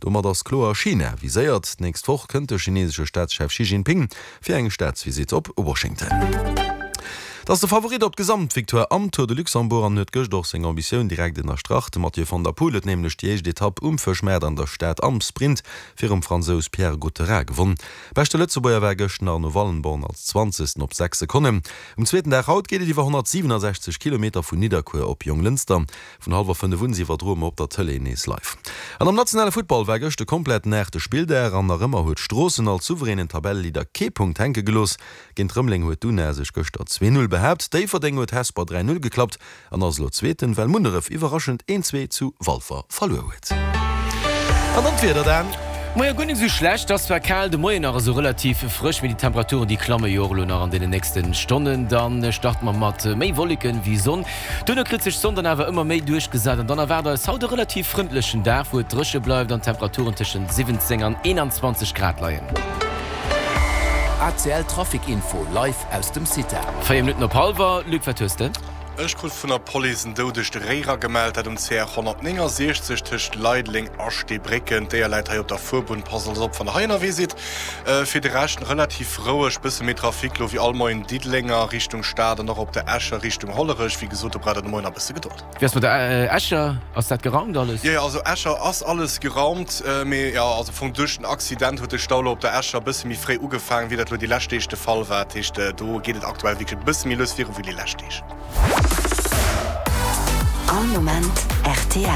Domat ass kloer China viséiert. D'nächst Woch kënnt de chinesesche Staatschef Xi Jinping fir eng Staatsvisitt op Washington. Et ass de Favorit op d'Gesamtvictoire am Tour de Luxembourg an huet gëscht och seng Ambitioun direkt ënnerstrach. De Mathieu van der Poel huet nämlech déi éischt Etapp um Fëschmaart an der Stad am Sprint virum Fransous Pierre Gautherat gewonn. Beschte Lëtzebuerger war gëscht den Arno Wallenborn als Zwanzegsten op 6 Sekonnen. Um zweeten Dag haut geet et iwwer 167 Kilometer vun Nidderkuer op Jonglënster. Vun hallwer 5 un iwwerdroe mer op der Tëlee nees live. An am nationale Futtball war gëscht e kompletten aachte Spilldag an nach ëmmer huet Stroossen als souveränen Tabelleleader kee Punkt hänke gelooss. Géint Rëmeleng huet d'Una sech gëschter 2, 0 behaapt, Déifferdeng huet Hesper 3, 0 geklappt an ass elo Zweeten, well Munneref iwwerraschend 1, 2 zu Walfer verluer huet. An dann d'Wieder, Dan. Moie, guer net esou schlecht. Ass zwar kal de Moien, nach esou relativ frësch, mee déi Temperaturen déi klamme jo och elo nach an deenen nächste Stonnen. Dann starte mer mat méi Wolleken wéi Sonn. Duerno kritt sech d'Sonn dann awer ëmmer méi duerchgesat an dann erwaart eis haut e relativ frëndlechen Dag, wou et dréche bleift an d'Temperaturen tëschent 17 an 21 Grad leien. ACL Trafic Info live aus dem CITA. 4 Minutten op hallwer, Luc, wat hues de? Ech krut vun der Police en doudegt Réi eragemellt, dat um CR 169 tëscht Leideleng a Steebrécken. D'Déier läit hei op der Fuerbunn. Passt also op, wann der hei ënnerwee sidd. Fir de Rescht relativ roueg, bësse méi Trafic lo wéi all Moien Diddelenger Richtung Stad an och op der Escher Richtung Hollerech. Wéi gesot, do braucht der de Moien nach bësse Gedold. Wéi ass mat der Escher? Ass dat geraumt alles? Jo, jo, also Escher ass alles geraumt, mee jo, also am Fong duerch den Accident huet de Stau lo op der Escher bësse méi fréi ugefaangen, wéi dat lo déi lescht Deeg de Fall war. Dat heescht, do geet et aktuell wierklech e bësse méi lues viru wéi déi lescht Deeg. All Moment rtl.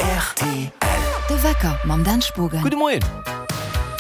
Rtl. De Wecker mam Dan Spogen. Gudde Moien.